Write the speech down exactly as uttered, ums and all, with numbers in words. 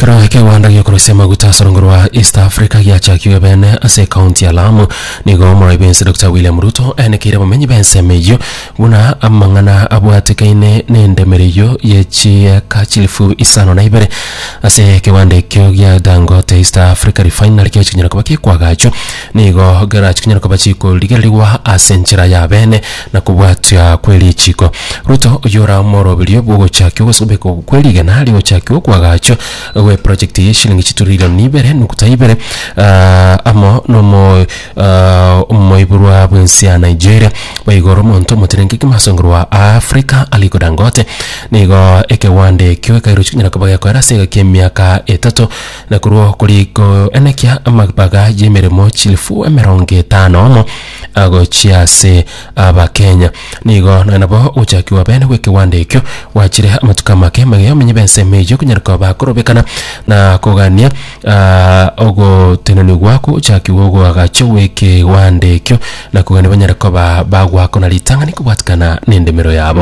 Ekero ekewanda giokorosia amaguta ase orongo rwa East Africa giachakiwe bene ase ekaunti ya Lamu, nigo omorai bw'ense Doctor William Ruto aenekeire abamenyi b'ensemo eyio buna amang'ana abwatekaine n'endemero eyio ye chieka chilifu isano na ibere ase ekewanda ekio gia Dangote East Africa Refinery kiachi konyara koba gekwagachwa nigo gerachi konyara koba chikorigererigwa ase enchera ya bene na kobwatia kw'erichiko. Ruto oyio ora omoroberio bw'ogochakia ogosobeka kw'erigena rigochakia okwagachwa gwe project ye shilingi chitrilioni ibere nukuta ibere ah, amo nomo ah, omoiborwa bw'ensi ya Nigeria boigo omonto omotenenki kimasongo rwa Africa Aliko Dangote nigo ekewanda ekio ekairochi konyara koba gekoera ase egaki emiaka etato na korwa koriko enekia amabaga y'emeremo chilifu emerongo etano omo agochia ase abakenya nigo nonya nabo ogochakiwa bene bw'ekewanda ekio gwachire amatuko amake magega omenye b'ensemo eyio konyara koba bakorobekana na kogania ah, ogotenenigwa gochakiwa ogoagacho gw'ekewanda ekio na kogania banyare koba bagwakona ritang'ani kobwatikana n'endemero yabo.